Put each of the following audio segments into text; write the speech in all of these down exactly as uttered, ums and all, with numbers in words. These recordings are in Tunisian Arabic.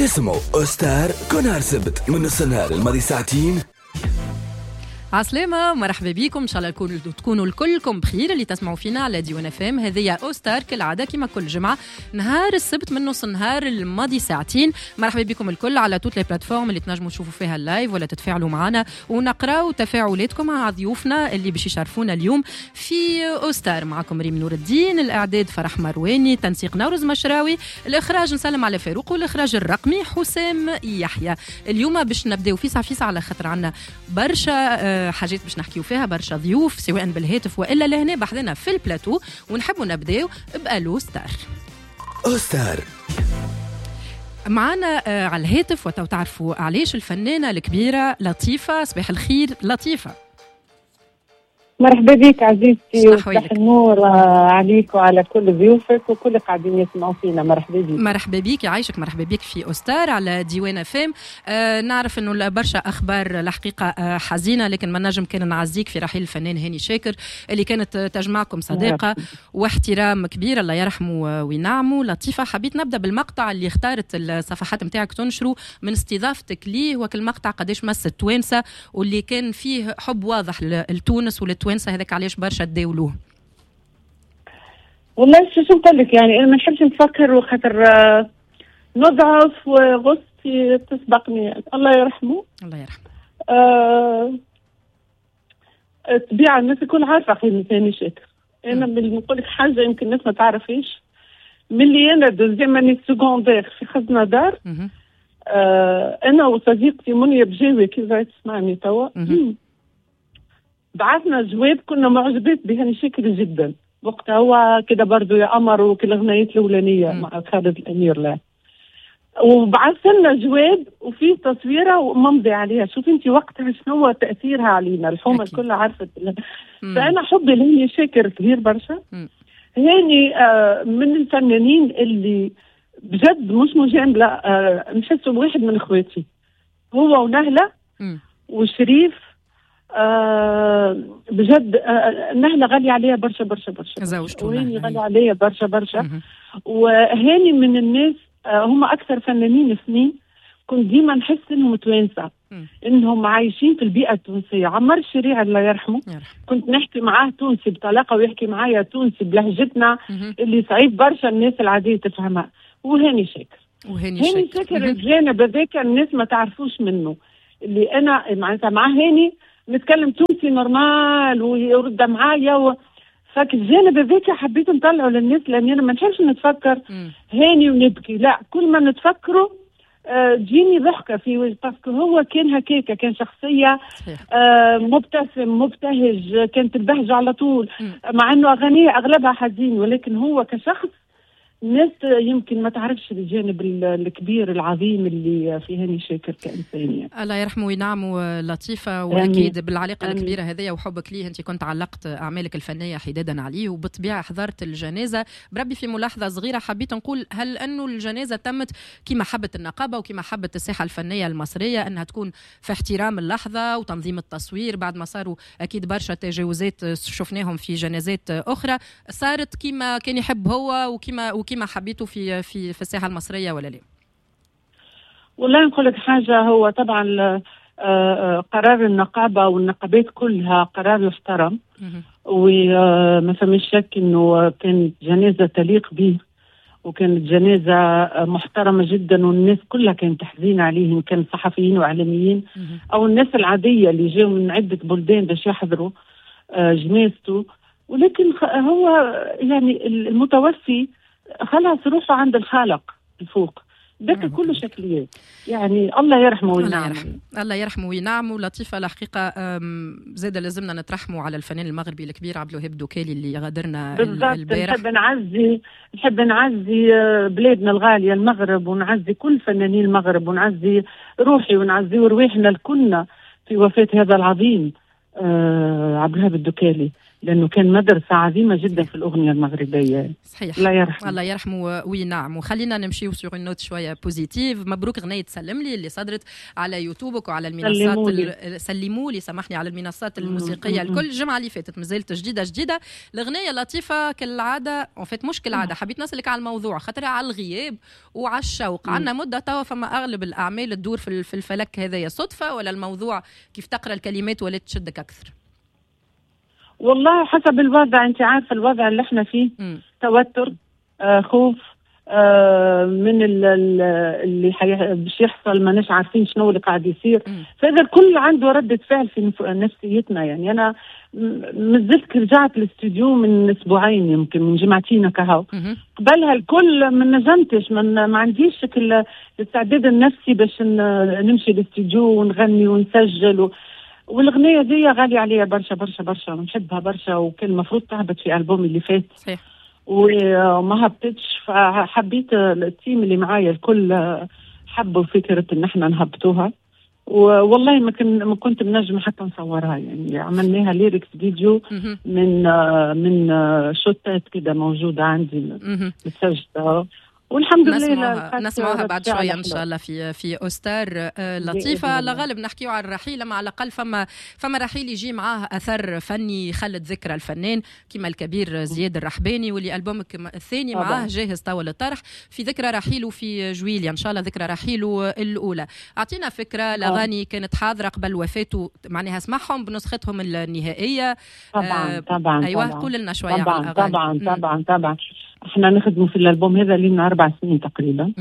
اسمعوا أوستار كل نهار سبت من نص النهار الماضي ساعتين. عسلامة، مرحبا بكم، ان شاء الله تكونوا الكلكم بخير اللي تسمعوا فينا على ديوان اف ام. هذه اوستار كالعادة كما كل جمعه نهار السبت من نص النهار الماضي ساعتين. مرحبا بكم الكل على toutes les plateformes اللي تنجموا تشوفوا فيها ال live ولا تتفاعلوا معنا ونقراو تفاعلاتكم مع ضيوفنا اللي باش يشرفونا اليوم في اوستار. معكم ريم نور الدين، الاعداد فرح مرواني، تنسيق نورز مشراوي، الاخراج نسلم على فاروق، والاخراج الرقمي حسام يحيى. اليوم باش نبداو فيسع فيسع على خاطر عندنا برشا حاجات باش نحكيو فيها، برشا ضيوف سواء بالهاتف والا لهنا بحذنا في البلاتو، ونحبوا نبداو بالو ستار. أوستار معنا على الهاتف وتو تعرفوا علاش الفنانة الكبيرة لطيفة. صباح الخير لطيفة. مرحبا بك عزيزتي، وصباح النور عليك وعلى كل ضيوفك وكل قاعدين يسمعوا فينا. مرحبا بك. مرحبا بك، يعيشك. مرحبا بك في أوستار على ديوان فام. آه نعرف انه برشا اخبار الحقيقة آه حزينة، لكن ما نجم كان نعزيك في رحيل الفنان هاني شاكر اللي كانت تجمعكم صداقه واحترام كبير، الله يرحمه وينعمه. لطيفة، حبيت نبدا بالمقطع اللي اختارت الصفحات نتاعك تنشره من استضافتك ليه، وكل مقطع قداش مس التوانسة واللي كان فيه حب واضح لتونس وللتوانسه، هذاك علاش برشا تداولوه. والله شو نقول لك، يعني انا ما نحبش نفكر وخاطر نضعف وغصتي تسبقني. الله يرحمه. الله يرحمه. آه... الطبيعة الناس الكل عارفه قيمة هاني شاكر. انا نقول لك حاجة يمكن الناس ما تعرفيش، ملي انا deuxième année secondaire في خزنه دار، آه... انا وصديقتي منيا بجاوي كيف تسمعني توا، بعثنا جواب، كنا معجبات بهاني شاكر جدا وقتها، هو كده برضو يا قمر وكل الاغنيات الاولانية مع خالد الامير. لا، وبعث لنا جواب وفيه تصويره وممضي عليها. شوف انت وقتها شنو تاثيرها علينا، الحومه الكل عرفت. فانا حبي لهاني شاكر كبير برشا. هاني آه من الفنانين اللي بجد مش مجاملة، آه نحسه واحد من اخواتي، هو ونهله وشريف. آه بجد آه نهلة غالية عليها برشا برشا برشا، زوجته وهاني غالية عليها برشا برشا. وهاني من الناس آه هم أكثر فنانين اثنين كنت ديما نحس إنهم توانسة، إنهم عايشين في البيئة التونسية. عمار الشريعي الله يرحمه، كنت نحكي معاه تونسي بطلاقة ويحكي معايا تونسي بلهجتنا اللي صعيب برشا الناس العادية تفهمها. وهاني شاكر، وهاني هاني شاكر الجانب هذاك الناس ما تعرفوش منه، اللي أنا معناتها مع هاني نتكلم تونسي normal ويرد معايا و... فك الجانب هذاك حبيت نطلعه للناس، لاني انا ما نحبش نتفكر هاني ونبكي، لا، كل ما نتفكره آه تجيني ضحكه في وجه، parce que هو كان هكاكا، كان شخصية آه مبتسم مبتهج، كانت البهجة على طول، مع انه اغانيه اغلبها حزين، ولكن هو كشخص الناس يمكن ما تعرفش الجانب الكبير العظيم اللي في هاني شاكر كإنسان يعني. الله يرحمه وينعمه لطيفة، وأكيد بالعلاقة الكبيرة هذه وحبك ليه أنت كنت علقت أعمالك الفنية حدادا عليه، وبالطبيعة حضرت الجنازة. بربي في ملاحظة صغيرة حبيت نقول، هل أنه الجنازة تمت كما حبت النقابة وكما حبت الساحة الفنية المصرية أنها تكون في احترام اللحظة وتنظيم التصوير بعد ما صاروا أكيد برشا تجاوزات شفناهم في جنازات أخرى، صارت كما كان يحب هو وكما وكما ما حبيته في في في الساحة المصرية ولا لا؟ والله نقول لك حاجة، هو طبعا قرار النقابة والنقابات كلها قرار يحترم، وما فماش شك انه كانت جنازه تليق به، وكانت جنازه محترمه جدا، والناس كلها كانت حزينة عليه، ان كان صحفيين واعلاميين او الناس العادية اللي جاوا من عده بلدان باش يحضروا جنازته. ولكن هو يعني المتوفي خلاص روحه عند الخالق الفوق، ذاك كله شكليات يعني. الله يرحمه وينعمه. الله يرحمه، الله يرحمه وينعمه. لطيفة الحقيقة زاد لازمنا نترحموا على الفنان المغربي الكبير عبد الوهاب دوكالي اللي غادرنا البارح. نحب نعزي، نحب نعزي بلادنا الغالية المغرب، ونعزي كل فنانين المغرب، ونعزي روحي ونعزي رواحنا الكلنا في وفاة هذا العظيم آه عبد الوهاب الدكالي. لانه كان مدرسه عظيمة جدا في الاغنية المغربية. صحيح، الله يرحمه. الله يرحمه وينعم. وخلينا نمشيو sur une note شوية positive. مبروك غنية سلم لي اللي صدرت على يوتيوبك وعلى المنصات سلمولي. سلموا لي سامحني، على المنصات الموسيقية الكل الجمعة اللي فاتت، مازالت جديدة جديدة الاغنية لطيفة كالعادة. en fait مش كالعاده، حبيت نسالك على الموضوع خاطر على الغياب وعلى الشوق. عندنا مده توا فما اغلب الاعمال تدور في الفلك هذايا، صدفة ولا الموضوع كيف تقرا الكلمات ولا تشدك اكثر؟ والله حسب الوضع، انت عارفه الوضع اللي احنا فيه. م. توتر، آه، خوف، آه، من اللي باش يحصل، ماناش عارفين شنو اللي قاعد يصير. فهذا الكل عنده ردة فعل في نفسيتنا. يعني انا مازلت رجعت الاستوديو من اسبوعين، يمكن من جمعتين كهو. قبلها الكل ما نجمتش، ما عنديش الاستعداد النفسي باش نمشي الاستوديو ونغني ونسجل و... والاغنية دي غالية عليا برشا برشا برشا، ونحبها برشا، وكان المفروض تهبط في البوم اللي فات. صحيح. وما هبطتش، فحبيت ال team اللي معايا الكل حبوا فكرة ان احنا نهبطوها. والله ما كن ما كنت منجم حتى نصورها، يعني عملناها lyrics video من من شوتات كده موجودة عندي متسجله، والحمد لله نسمعوها, نسمعوها بعد شوية ان شاء الله في في اوستار. لطيفة، الغالب نحكيو على الرحيل، اما على الاقل فما فما رحيل يجي معاه اثر فني يخلد ذكرى الفنان كما الكبير زياد الرحباني، واللي البومك الثاني معاه جاهز توا للطرح في ذكرى رحيله في جويليا ان شاء الله، ذكرى رحيله الاولى. اعطينا فكرة، الاغاني كانت حاضره قبل وفاته، معناها اسمعهم بنسختهم النهائية. طبعا طبعا. ايوه قول لنا شوية طبعا على الاغاني. طبعا طبعا طبعا احنا نخدموا في الالبوم هذا لنا اربع سنين تقريبا.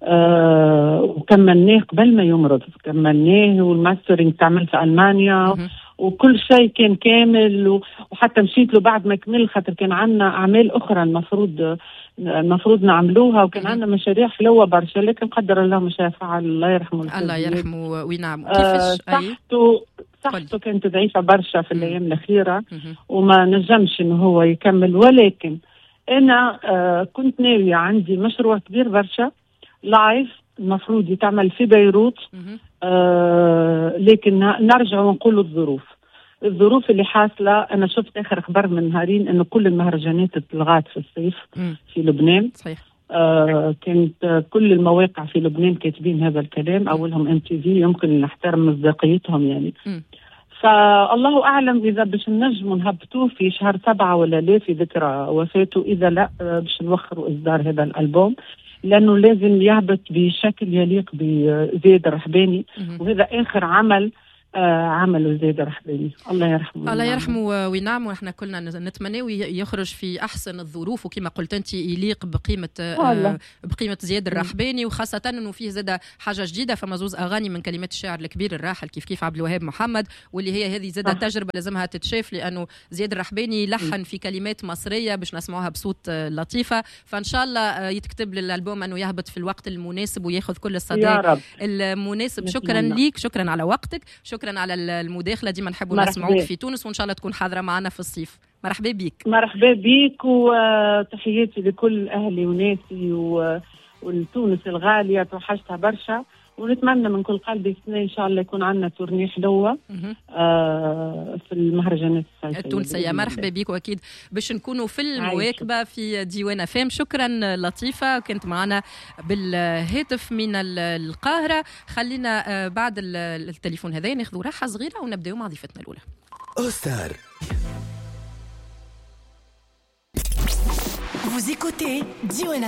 آه وكملناه قبل ما يمرض، كملناه وال mastering تعمل في المانيا. مه. وكل شيء كان كامل، وحتى مشيت له بعد ما كمل، خاطر كان عندنا اعمال اخرى المفروض المفروض نعملوها، وكان عندنا مشاريع حلوة برشا، لكن قدر الله ما شاء فعل. الله يرحمه. الله يرحمه وينعم. كيفاش صحته؟ صحته كانت ضعيفة برشا في الايام الاخيرة وما نجمش انه هو يكمل، ولكن أنا آه كنت ناوية، عندي مشروع كبير برشا live المفروض يتعمل في بيروت، آه لكن نرجع ونقول الظروف الظروف اللي حاصلة. أنا شفت آخر خبر من نهارين أنه كل المهرجانات اتلغت في الصيف في لبنان. صحيح. آه كانت كل المواقع في لبنان كاتبين هذا الكلام، أولهم MTV، يمكن نحترم مصداقيتهم يعني. م. فالله أعلم إذا باش نجموا نهبطوه في شهر سبعة ولا لا في ذكرى وفاته، إذا لا باش نوخروا إصدار هذا الألبوم، لأنه لازم يهبط بشكل يليق بزياد الرحباني، وهذا آخر عمل آه عمله زياد الرحباني. الله يرحمه. الله يرحمه وينعم، ونحن كلنا نتمنى يخرج في أحسن الظروف، وكما قلت أنت يليق بقيمة آه بقيمة زياد الرحباني، وخاصة أنه فيه زاد حاجة جديدة، فما زوز أغاني من كلمات الشاعر الكبير الراحل كيف كيف عبد الوهاب محمد، واللي هي هذه زاد تجربة لازمها تتشاف، لأنه زياد الرحباني لحن في كلمات مصرية باش نسمعوها بصوت لطيفة. فإن شاء الله يتكتب للألبوم أنه يهبط في الوقت المناسب وياخذ كل الصدى المناسب. شكرا ليك، شكرا على وقتك، شكرا على المداخلة، ديما نحبوا نسمعوك في تونس، وإن شاء الله تكون حاضرة معنا في الصيف. مرحبا بك. مرحبا بك، وتحياتي لكل أهلي وناسي والتونس الغالية، توحشتها برشا، ونتمنى من كل قلبي السنة إن شاء الله يكون عندنا tournée حلوة آه في المهرجانات الصيفية التونسية. مرحبا بك، وأكيد باش نكونوا في المواكبة في ديوان فام. شكرا لطيفة، كنت معنا بالهاتف من القاهرة. خلينا بعد التليفون هذا ناخذ راحة صغيرة ونبدأ مع ضيفتنا الأولى. أوستار. Vous écoutez ديوان.